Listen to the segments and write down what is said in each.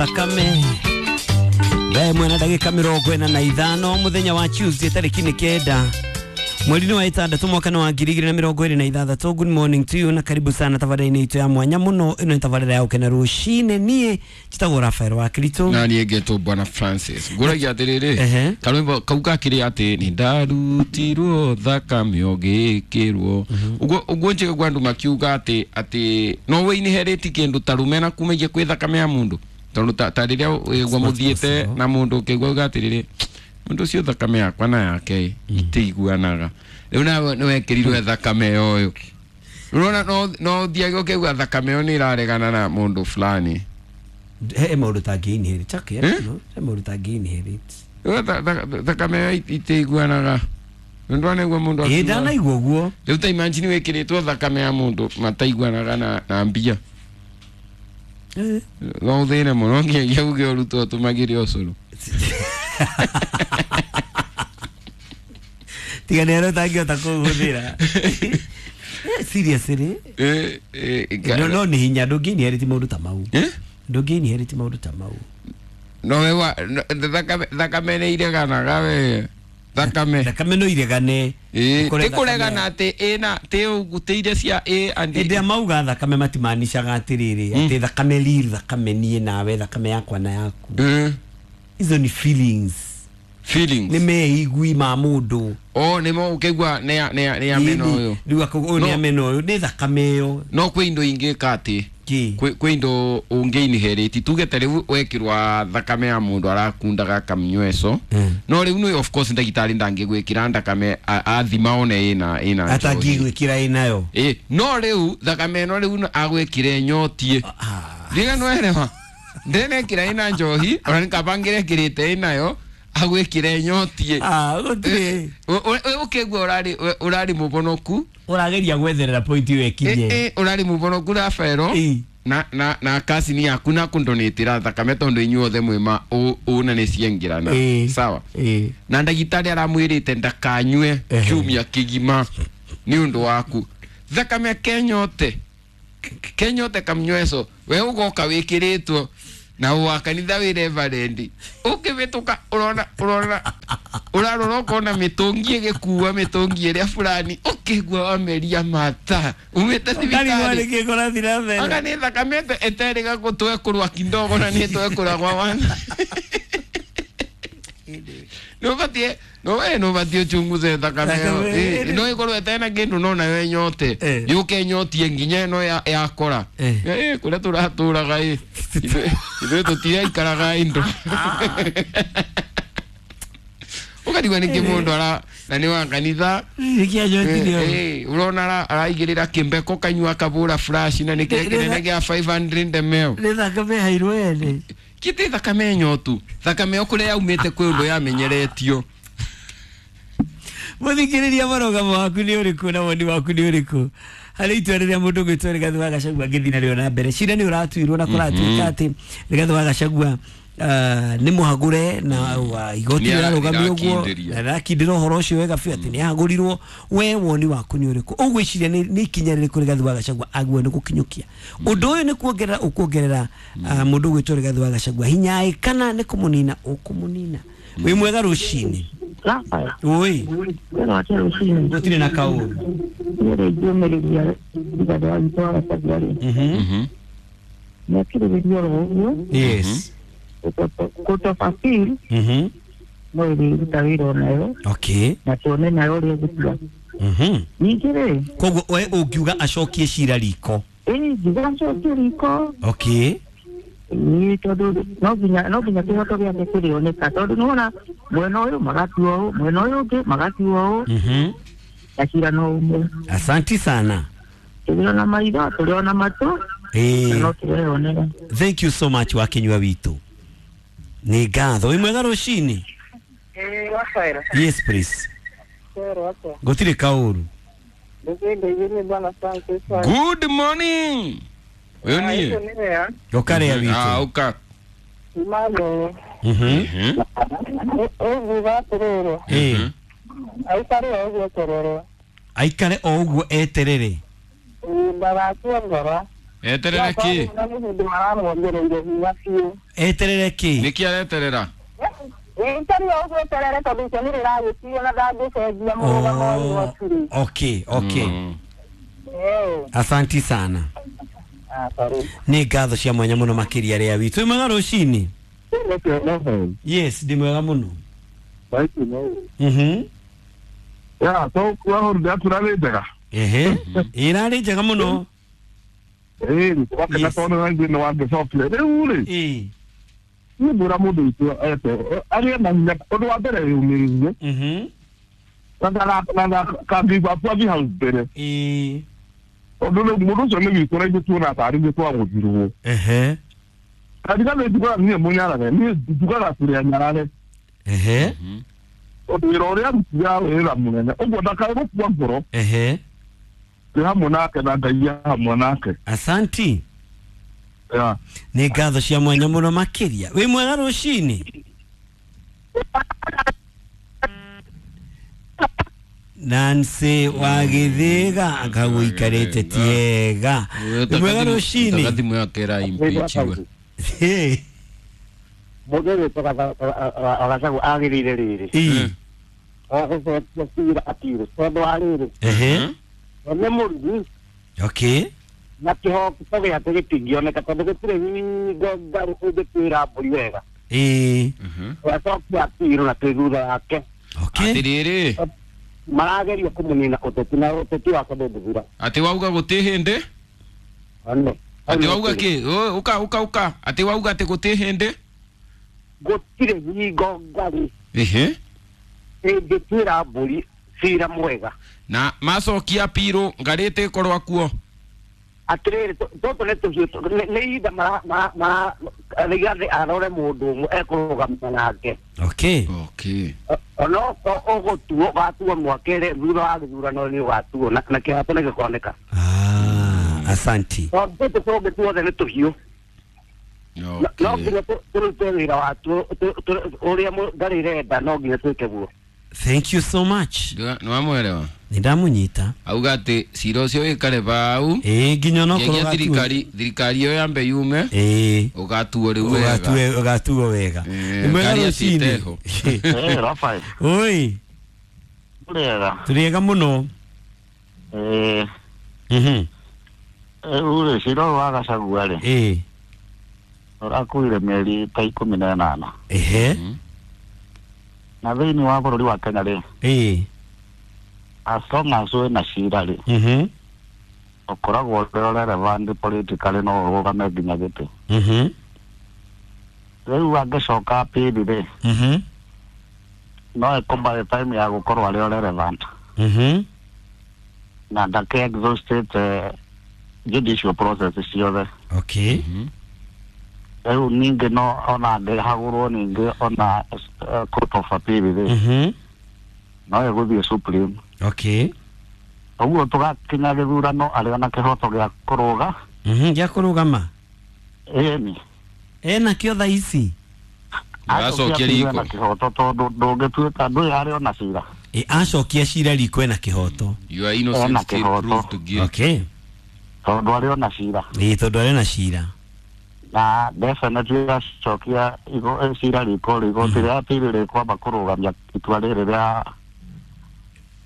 Thakame thaa ĩmwe na ndagĩka 45 mũthenya wa Tuesday tarĩki nĩ 9 mweri-inĩ wa 6 mwaka wa 2026. Good morning to you na karibu sana tabarĩra-inĩ itũ ya mwanya mũno. Ĩno nĩ tabarĩra ya gũkena rũcinĩ. Niĩ njĩtagwo Rafael wa Kristo na niĩ ngetwo Bwana Francis. Ngũragia atĩrĩrĩ, karwĩmbo kau gakĩrĩ atĩ nĩ ndarutirwo thakame ũgĩkĩrwo ũguo ũguo njigagua andũ makiuga atĩ atĩ no we inherit kĩndũ ta rũmena kumagia kwĩ thakame ya mũndũ, tondũ ta rĩrĩa wĩgua mũthiĩte na mũndũ ũkĩigua uga atĩrĩrĩ, mũndũ ũcio thakame yakwa na yake itiiguanaga, rĩu nawe nĩwekĩrirwe thakame ũyũ, ũrona no ũthiage ũkĩigua thakame ĩyo nĩ ĩraregana na mũndũ fulani. He maũndũ tangĩ inherit okay, no he maũndũ tangĩ inherit. Thakame ĩyo itiiguanaga ndwanaigua mũndũ ĩ ndanaigua ũguo. Rĩu ta imagine wĩkĩrĩtwo thakame ya mũndũ mataiguanaga na mbia, no ũthĩne mũno nginyagia uge ũrutwo ũtũmagĩre ũcũrũ. Tiga nĩ arĩa ũtangĩhota kũhũthĩra. Seriously no nĩ hinya ndũngĩ inherit maũndũ ta mau. Ndũngĩ inherit maũndũ ta mau. No we wa thakame nĩ ireganaga we. Thakame thakame no iregane. Ti kũregana atĩ ĩna ti ũgutĩire cia ĩ and hĩndĩ ĩrĩa mauga thakame matimaanishaga atĩrĩrĩ atĩ thakame riri thakame niĩ nawe thakame yakwa na yaku. Izo ni feelings. Feelings. Nĩ meigui ma mũndũ. Oh, nĩ mo ũkĩigua nĩ amena ũyũ. Rĩu ũyũ nĩ amena ũyũ nĩ thakame ĩyo. No kwĩ indo ingĩ ka atĩ kwĩ indo ũngĩ inherit tuge ta rĩu wekĩrwa thakame ya mũndũ arakundaga kamnyweco, no rĩu nĩ of course ndagĩtarĩ ndangĩgwĩkĩra thakame athima one ĩna ĩna atangĩgwĩkĩra ĩnayo. Ĩ no rĩu thakame ĩno rĩu agwĩkĩre nyotie ndiga nĩwerewa ndenekĩra ĩna njohi ona nĩkabangĩre ĩkĩrĩte ĩnayo agwĩkĩre nyotie. Gũtirĩ ũkĩigua ũrarĩ mũbonoku, ũrageria gwetherera point ĩyo ĩkinye. Ũrarĩ mũbonoku Rafaelo na kasini yaku na kundonĩtĩra thakame tondũ inyuothe mwĩma ũna nĩ ciengĩrana sawa, na ndagĩtarĩ aramwĩrĩte ndakanyue kiumia kĩgima nĩ ũndũ waku thakame kenyote kenyote kamnyweco we ũgoka wĩkĩrĩtwo na wa kanitha wĩ reverend ũkĩhĩtũka ũrona ũrona ũrarora ũkona mĩtũngi ĩgĩkua mĩtũngi ĩrĩa fulani ũkĩigua wameria mata umĩte thibitarĩ anga nĩ thakame ĩterĩga gũtwekũrwa kidogo na nĩ twekũragwa wana nĩũbatiĩ nĩũbatiĩ ũchunguze thakame ĩyo no ĩkorwo ĩtena kĩndũ no nayo ĩnyote yũke ĩnyotie nginya ĩno yakora kũrĩa tũratũraga ĩ ithuĩ tũtiraikaraga indo ũkarigwo nĩkĩ mũndũ ara na nĩ wa kanitha ũrona araigĩrĩra kĩmbeko kanyua akabũra flash na nĩ kĩrĩa kĩnene gĩa 500 ml. Nĩ thakame hairwo ene kĩtĩ thakame nyotu thakame ĩyo kũrĩa yaumĩte kwĩ ũndũ yamenyeretio. Mũthikĩrĩria mũrũgamo waku nĩ ũrĩkũ na woni waku nĩ ũrĩkũ harĩ itua rĩrĩa mũndũ ũgwĩtwo Rigathĩ wa Gachagua angĩthiĩ narĩo na mbere. Cira nĩ ũratuirwo na kũratuĩka atĩ Rigathĩ wa Gachagua nĩ mũhagũre na igoti rĩrarũgamio ũguo na rĩrakindĩra ũhoro ũcio wega biũ atĩ nĩ ahagũrirwo. We woni waku nĩ ũrĩkũ? Ũgwĩciria nĩ ikinya rĩrĩkũ Rigathĩ wa Gachagua agĩrĩirwo nĩ gũkinyũkia? Ũndũ ũyũ nĩ kuongerera ũkuongerera mũndũ ũgwĩtwo Rigathĩ wa Gachagua hinya ĩ kana nĩ kũmũnina ũkũmũnina? Wĩ mwega rũcinĩ. Oi. Gũtirĩ na kaũru. Yes. Kutofasiri no ĩrĩruta wĩra onayo. Okay. Na tuone nayo ũrĩa ĩgũtua. Ningĩ rĩ, koguo we ũngiuga acokie cira riko? Ĩ ngiuga acokie riko. Okay. Ĩ tondũ no nginya kĩhoto gĩake kĩrĩoneka tondũ nĩwona mwena ũyũ magatua ũũ, mwena ũyũ ũngĩ magatua ũũ, na cira no ũmwe. Asanti sana. Tũrĩ ona maitho, tũrĩ ona matũ, no tũreyonera. Thank you so much wakinyua witũ. Nĩ ngatho. Wĩ mwega rũcinĩ? Rafael. Yes please. Gũtirĩ kaũru. Good morning. Ũyũ niĩ ũkarĩa witũ. Ũka. Aikare o ũguo eterere. Aikare o ũguo eterere. Ndagakue ngoro. Eterere ki? Eterere ki? Niki areterera? Okay, okay. Asanti sana. Nĩ ngatho cia mwanya mũno makĩria rĩa witũ. Wĩ mwega rũcinĩ? Yes, ndĩ mwega mũno. Ya, so kwa holiday turarĩ njega. Ehe. Ĩrarĩ njega mũno. Wakena tondũ nĩ wangĩcokire. Rĩu rĩ. Niĩ ngwĩra mũndũ witũ ete arĩe na hinya ũndũ wa mbere yũmĩrĩrie. Na kangĩigua athiĩ hau mbere. Ũndũ rĩu mũndũ ũcio nĩ witũ na ithuĩ tuona tarĩ ithuĩ twagũthirwo. Karigana njugaga niĩ mũnyarare, niĩ njugaga tũrĩ anyarare. Ũndũ wĩra ũrĩa arutire wĩra mũnene ũguo ndakae gũkua ngoro. Twĩ hamwe nake na Ngai hamwe nake. Asanti. Nĩ ngatho cia mwanya mũno makĩria. Wĩ mwega rũcinĩ? Nancy wa Githiga akagũikarĩte tiega. Wĩ mwega rũcinĩ? Thimũ yake ĩra impeach we. Mũndũ wĩtwo Gachagua agĩrĩire rĩrĩ. Agũcokia cira appeal tondũ wa rĩrĩ. Nĩ mũrugi. Okay. Na kĩhoto gĩake gĩtingĩoneka tondũ gũtirĩ hingo ngarũ ũngĩtuĩra mbũri wega. Acokia appeal na twĩ thutha wake. Atĩrĩrĩ. Marageria kũmũnina ũteti na ũteti wake ndũngĩthira. Atĩ wauga gũtĩ hĩndĩ? Atĩ wauga kĩ? Ũka ũka ũka. Atĩ wauga atĩ gũtĩ hĩndĩ? Gũtirĩ hingo ngarũ. Ĩngĩtuĩra mbũri cira mwega. Na macokia appeal ngarĩte ĩkorwo akuo. Atĩrĩrĩ tũtũ nĩ tũhiũ nĩ ihinda Rigathĩ arore mũndũ ũmwe ekũrũgama nake. Okay. Okay. Ono ũgũtuo ũgatuo mwaka thutha wa gĩthurano nĩ ũgatuo na kĩhoto nĩ gĩkoneka. Asanti. Tondũ tũtũ tũngĩ tuothe nĩ tũhiũ. No nginya tũrute wĩra watuo ũrĩa ngarĩ ĩrenda no nginya twĩke guo. Thank you so much. Nĩwamwelewa? Nĩndamũnyita. Auga atĩ cira ũcio wĩkare bau. Nginya onokorwo thirikari thirikari ĩyo yambe yume. Ũgatuo rĩu wega. Ũgatuo wega. Nĩ mwega rũcinĩ. Rafael. Oi. Tũrĩega. Tũrĩega mũno. Rĩu rĩ cira ũyũ wa Gachagua rĩ. Ũrakuire mĩeri ta 18. Na thĩinĩ wa bũrũri wa Kenya rĩ. As long as wĩna cira rĩ. Ũkoragwo ũrĩ relevant politically no ũrũgame nginya gĩtĩ. Rĩu angĩcoka appeal rĩ. No ĩkũ by the time ya gũkorwo arĩ relevant. Na ndake exhausted judicial process ciothe. Okay. Rĩu ningĩ no ona angĩhagũrwo ningĩ ona court of appeal rĩ. No ĩgũthiĩ Supreme. Okay. Ũguo tũgakinya gĩthurano arĩ ona kĩhoto gĩa kũrũga. Gĩa kũrũgama. Ĩni. Ena kĩo thaa ici. Acokia riko. Na kĩhoto tondũ ndũngĩtuĩka ndũĩ arĩ ona cira. Acokia cira riko ena kĩhoto. You are innocent till proved guilty. Okay. Tondũ arĩ ona cira. Tondũ arĩ ona cira. Na definitely acokia cira riko igoti rĩa appeal rĩkwamba kũrũgamia itua rĩrĩ rĩa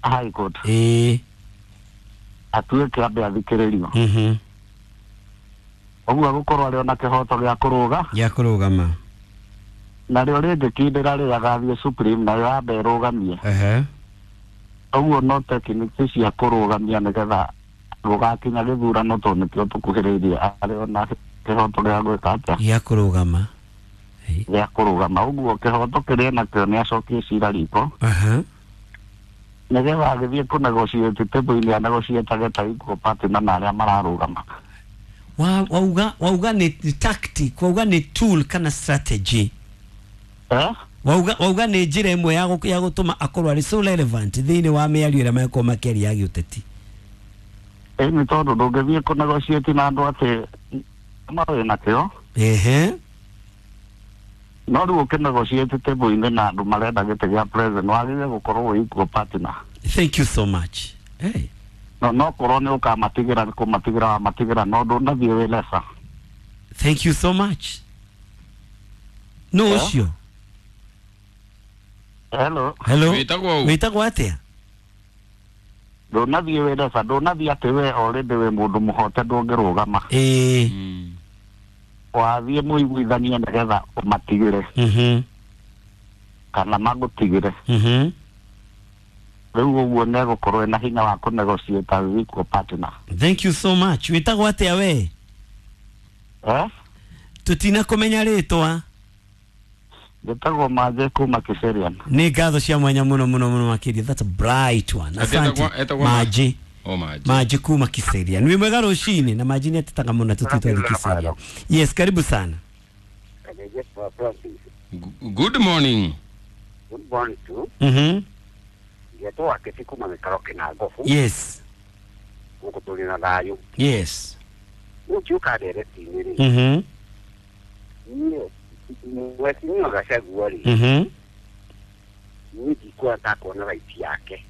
High Court. Atuĩke ambe athikĩrĩrio. Ũguo gũkorwo arĩ ona kĩhoto gĩa kũrũga. Gĩa kũrũgama. Narĩo rĩngĩkindĩra rĩ agathiĩ Supreme nayo ambe ĩrũgamie. Ũguo no techniques cia kũrũgamia nĩgetha gũgakinya gĩthurano tondũ nĩkĩo tũkuhĩrĩirie arĩ ona kĩhoto gĩa gwĩka atĩa? Gĩa kũrũgama. Gĩa kũrũgama. Ũguo kĩhoto kĩrĩa nakĩo nĩ acokie cira riko. Nĩgetha agĩthiĩ kũ negotiate table-inĩ anegotiatage ta equal partner na arĩa mararũgama. Wauga nĩ tactic, wauga nĩ tool kana strategy. Wauga nĩ njĩra ĩmwe ya gũtũma akorwo arĩ so relevant thĩinĩ wa mĩario ĩrĩa mekorwo makĩaria ya gĩũteti. Nĩ tondũ ndũngĩthiĩ kũ negotiate na andũ atĩ no wĩna kĩo. No rĩu ũkĩnegotiate table-inĩ na andũ marenda gĩtĩ gĩa president wagĩrĩire gũkorwo wĩ equal partner. Thank you so much. Hey. No korwo nĩ ũkamatigĩra kũmatigĩra matigĩra no ndũnathiĩ wĩ lesa. Thank you so much. No ũcio. Hello. Hello. Wĩtagwo atĩa? Ndũnathiĩ wĩ lesa, ndũnathiĩ atĩ we already wĩ mũndũ mũhote ndũngĩrũgama. Wathiĩ mũiguithanie nĩgetha ũmatigĩre. Kana magũtigĩre. Rĩu ũguo nĩegũkorwo ena hinya wa kũnegotiate with equal partner. Thank you so much. Wĩtagwo atĩa we? Tutina kũmenya rĩtwa. Njĩtagwo Manjĩ kuma Kiserian. Nĩ ngatho cia mwanya mũno mũno mũno makĩria. That's a bright one. Asante. Manjĩ. Manjĩ kuma Kiserian. Wĩ mwega rũcinĩ na Manjĩ nĩ atetaga mũno tũtitwo Kiserian. Yes, karibu sana. Good morning. Good morning too. Ngetwo aketi kuma mĩkaro kĩnangobu. Yes. Gũkũ tũrĩ na thayũ. Yes. Ũngĩũka ndereti-inĩ rĩ. Niĩ mheshimiwa Gachagua rĩ. Niĩ ndikuona ta kuona right yake.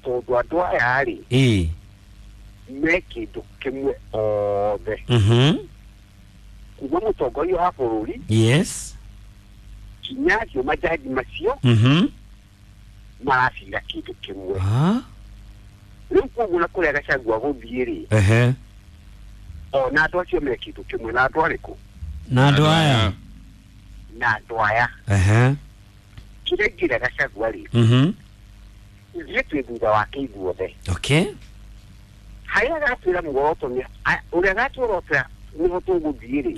Tondũ andũ aya rĩ. Me kĩndũ kĩmwe othe. Kuma mũtongoria wa bũrũri. Yes. Kinya acio majaji macio. Maracira kĩndũ kĩmwe. Rĩu koguo na kũrĩa Gachagua gũthiĩ rĩ. Ona andũ acio me kĩndũ kĩmwe na andũ arĩkũ? Na andũ aya. Na andũ aya. Kĩrĩa ingĩra Gachagua rĩ. Ithuĩ twĩ thutha wake ithuothe. Okay. Harĩa agatwĩra muoroto nĩ ũrĩa agatworotera nĩho tũgũthiĩ rĩ.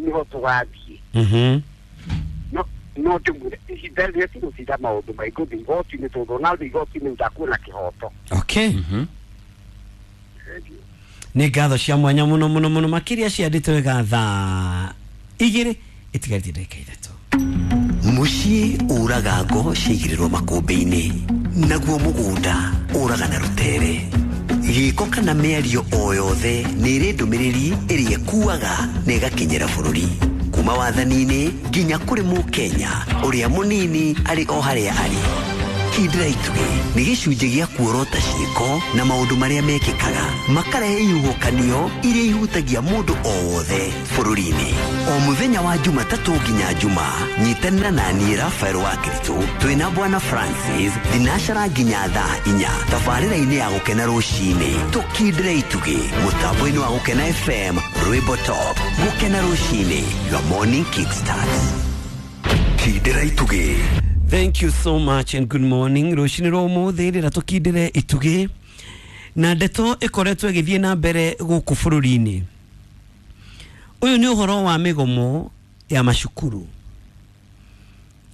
Nĩho tũgathiĩ. No ndĩmwĩre ihinda rĩrĩa tigũtinda maũndũ maingĩ gũthiĩ igoti-inĩ tondũ ona thiĩ igoti-inĩ ndakuona kĩhoto. Okay. Nĩ ngatho cia mwanya mũno mũno mũno makĩria ciandĩtwo wega thaa 2 ĩtigarĩtie ndagĩka 3. Mũciĩ ũraga ngo ciaigĩrĩrwo makũmbĩ-inĩ, naguo mũgũnda ũraga na rũtere. Gĩko kana mĩario o yothe nĩ ĩrĩ ndũmĩrĩri ĩrĩa ĩkuaga na ĩgakinyĩra bũrũri. Kuma wathani-inĩ nginya kũrĩ mũkenya ũrĩa mũnini arĩ o harĩa arĩ. Kindĩra itugĩ nĩ gĩcunjĩ gĩa kuorota ciĩko na maũndũ marĩa mekĩkaga makarehe ihuhũkanio iria ihutagia mũndũ o wothe bũrũri-inĩ. O mũthenya wa Jumatatũ nginya Juma, nyitanĩra na niĩ Rafael wa Kiritũ twĩna Bwana Francis thinacara nginya thaa 4 tabarĩra-inĩ ya Gũkena rũcinĩ. Tũkindĩre itugĩ mũtambo-inĩ wa Gũkena FM, Rwĩmbo Top. Gũkena rũcinĩ, your morning kickstart. Kindĩra itugĩ. Thank you so much and good morning. Rũcinĩ rwa ũmũthĩ rĩrĩa tũkindĩre itugĩ na ndeto ĩkoretwo ĩgĩthiĩ na mbere gũkũ bũrũri-inĩ. Ũyũ nĩ ũhoro wa mĩgomo ya macukuru.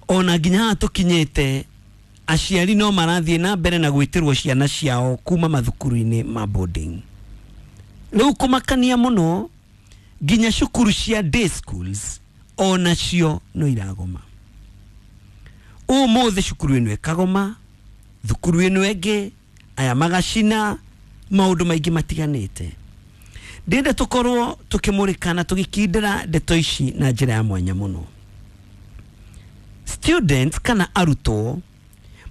Ona nginya haha tũkinyĩte aciari no marathiĩ na mbere na gwĩtĩrwo ciana ciao kuma mathukuru-inĩ ma boarding. Rĩu kũmakania mũno nginya cukuru cia day schools onacio no iragoma. Ũmũthĩ cukuru ĩno ĩkagoma, thukuru ĩno ĩngĩ, aya magacina, maũndũ maingĩ matiganĩte. Ndĩrenda tũkorwo tũkĩmũrĩkana tũgĩkindĩra ndeto ici na njĩra ya mwanya mũno. Students kana arutwo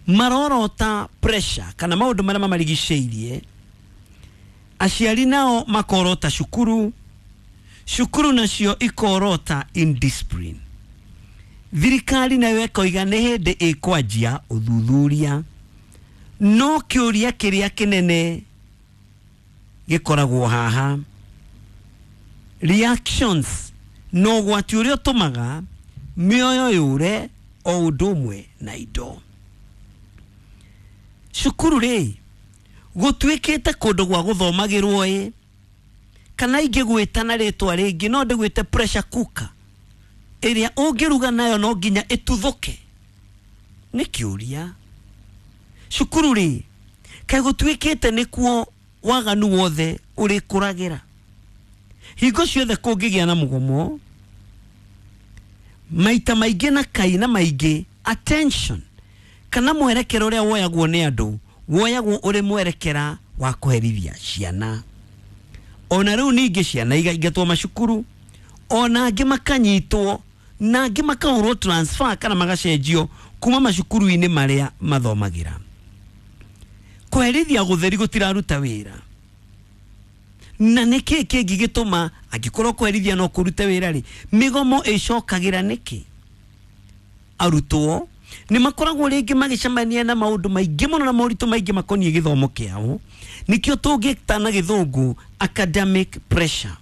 marorota pressure kana maũndũ marĩa mamarigicĩirie, aciari nao makorota cukuru, cukuru nacio ikorota indiscipline. Thirikari nayo ĩkoiga nĩ hĩndĩ ĩkwanjia ũthuthuria, no kĩũria kĩrĩa kĩnene gĩkoragwo haha, reactions no ũgwati ũrĩa ũtũmaga mĩoyo yũre o ũndũ ũmwe na indo. Cukuru rĩ gũtuĩkĩte kũndũ gwa gũthomagĩrwo ĩ, kana ingĩgwĩta na rĩtwa rĩngĩ no ndĩgwĩte pressure cooker ĩrĩa ũngĩruga nayo no nginya ĩtuthũke. Nĩ kĩũria. Cukuru rĩ kaĩ gũtuĩkĩte nĩkuo waganu wothe ũrĩkũragĩra? Hingo ciothe kũngĩgĩa na mũgomo maita maingĩ na kaina maingĩ, attention kana mwerekera ũrĩa woyagwo nĩ andũ woyagwo ũrĩ mwerekera wa kũherithia ciana. Ona rĩu ningĩ ciana igaingatwo macukuru, ona angĩ makanyitwo na angĩ makahũrwo transfer kana magacenjio kuma macukuru-inĩ marĩa mathomagĩra. Kũherithia gũtheri gũtiraruta wĩra. Na nĩkĩ kĩngĩ gĩtũma angĩkorwo kũherithia no kũrute wĩra rĩ, mĩgomo ĩcokagĩra nĩkĩ? Arutwo nĩ makoragwo rĩngĩ magĩcemania na maũndũ maingĩ mũno na moritũ maingĩ makoniĩ gĩthomo kĩao. Nĩkĩo tũngĩta na gĩthũngũ academic pressure.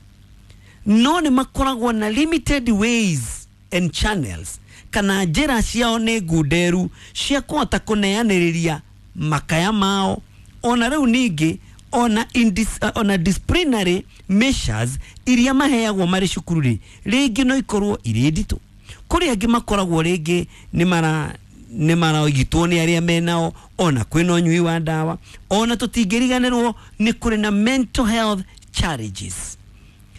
No nĩ makoragwo na limited ways and channels, kana njĩra ciao nĩ ngunderu cia kũhota kũneanĩrĩria makaya mao. Ona rĩu ningĩ ona ona disciplinary measures iria maheagwo marĩ cukuru rĩ, rĩngĩ no ikorwo irĩ nditũ. Kũrĩ angĩ makoragwo rĩngĩ nĩ maraigitwo nĩ arĩa menao, ona kwĩna ũnyui wa ndawa, ona tũtingĩriganĩrwo nĩ kũrĩ na mental health challenges.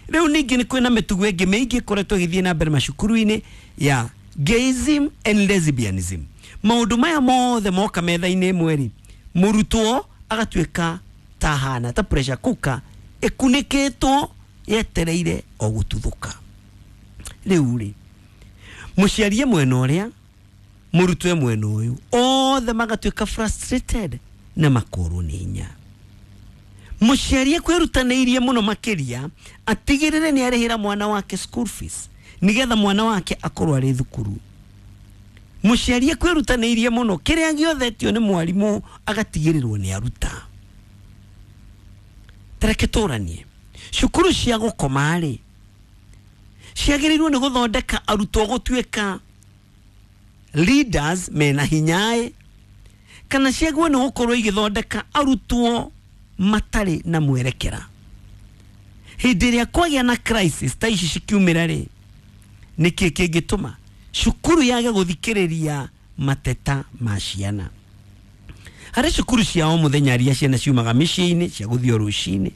Rĩu ningĩ nĩ kwĩna mĩtugo ĩngĩ mĩingĩ ĩkoretwo ĩgĩthiĩ na mbere macukuru-inĩ ya gayism and lesbianism. Maũndũ maya mothe moka metha-inĩ ĩmwe rĩ, mũrutwo agatuĩka ta hana ta pressure cooker ĩkunĩkĩtwo yetereire o gũtuthũka. Rĩu rĩ, mũciari mwena ũrĩa, mũrutwo mwena ũyũ, othe magatuĩka frustrated na makorwo nĩ hinya. Mũciari ekwĩrutanĩirie mũno makĩria atigĩrĩre nĩ arĩhĩra mwana wake school fees nĩgetha mwana wake akorwo arĩ thukuru. Mũciari ekwĩrutanĩirie mũno kĩrĩa gĩothe nĩ mwarimũ agatigĩrĩrwo nĩ aruta. Tareke tũranie, cukuru cia gũkoma rĩ ciagĩrĩirwo nĩ gũthondeka arutwo gũtuĩka leaders mena hinyaĩ, kana ciagĩrĩirwo nĩ gũkorwo igĩthondeka arutwo matarĩ na mwerekera. Hĩndĩ ĩrĩa kwagĩa na crisis ta ici cikiumĩra rĩ, nĩkĩ kĩngĩtũma cukuru yage gũthikĩrĩria mateta ma ciana? Harĩ cukuru cia o mũthenya iria ciana ciumaga mĩciĩ-inĩ cia gũthiĩ rũcinĩ,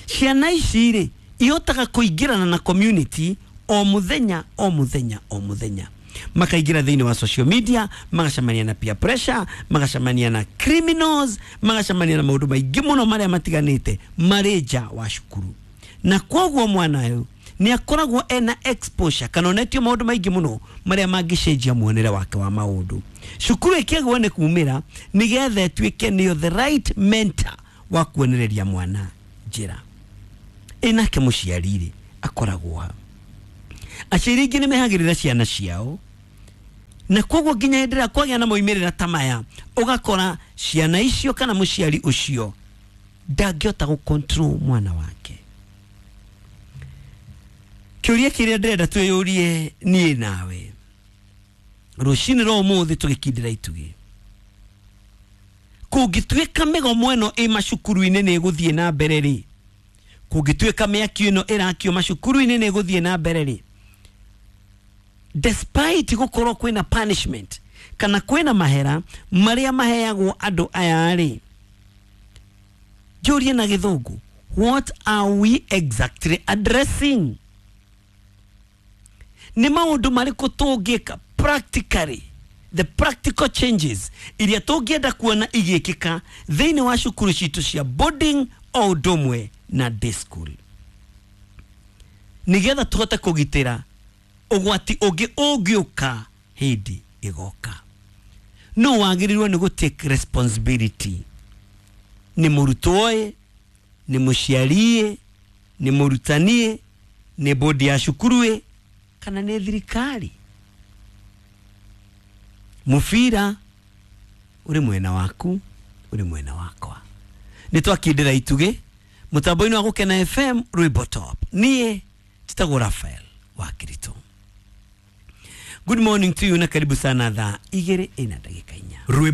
ciana ici rĩ ihotaga kũingĩrana na community o mũthenya o mũthenya o mũthenya, makaingĩra thĩinĩ wa social media, magacemania na peer pressure, magacemania na criminals, magacemania na maũndũ maingĩ mũno marĩa matiganĩte marĩ nja wa cukuru. Na kwoguo mwana ũyũ nĩ akoragwo ena exposure kana onetio maũndũ maingĩ mũno marĩa mangĩcenjia muonere wake wa maũndũ. Cukuru ĩkĩagwo nĩ kumĩra nĩgetha ĩtuĩke nĩyo the right mentor wa kuonereria mwana njĩra. Ĩnake mũciari rĩ akoragwo ha? Aciari aingĩ nĩ mehagĩrĩra ciana ciao, na koguo nginya hĩndĩ ĩrĩa kwagĩa na moimĩrĩra ta maya, ũgakora ciana icio kana mũciari ũcio ndangĩhota gũ control mwana wake. Kĩũria kĩrĩa ndĩrenda twĩyũrie niĩ nawe rũcinĩ rwa ũmũthĩ tũgĩkindĩra itugĩ, kũngĩtuĩka mĩgomo ĩno ĩ macukuru-inĩ nĩ ĩgũthiĩ na mbere rĩ, kũngĩtuĩka mĩaki ĩno ĩrakio macukuru-inĩ nĩ ĩgũthiĩ na mbere rĩ, despite gũkorwo kwĩna punishment kana kwĩna mahera marĩa maheagwo andũ aya rĩ, njũrie na gĩthũngũ, what are we exactly addressing? Nĩ maũndũ marĩkũ tũngĩka practically, the practical changes iria tũngĩenda kuona igĩkĩka thĩinĩ wa cukuru citũ cia boarding o ũndũ ũmwe na day school, nĩgetha tũhote kũgitĩra ũgwati ũngĩ ũngĩũka hĩndĩ ĩgoka. No wagĩrĩirwo nĩ gũ take responsibility. Nĩ mũrutwo ĩ, nĩ mũciari ĩ, nĩ mũrutani ĩ, nĩ bodi ya cukuru ĩ, kana nĩ thirikari? Mũbira ũrĩ mwena waku, ũrĩ mwena wakwa. Nĩ twakindĩra itugĩ mũtambo-inĩ wa Gũkena FM rwĩmbo top. Niĩ njĩtagwo Raphael wa Kirito. Good morning to you na karibu sana thaa 2:04.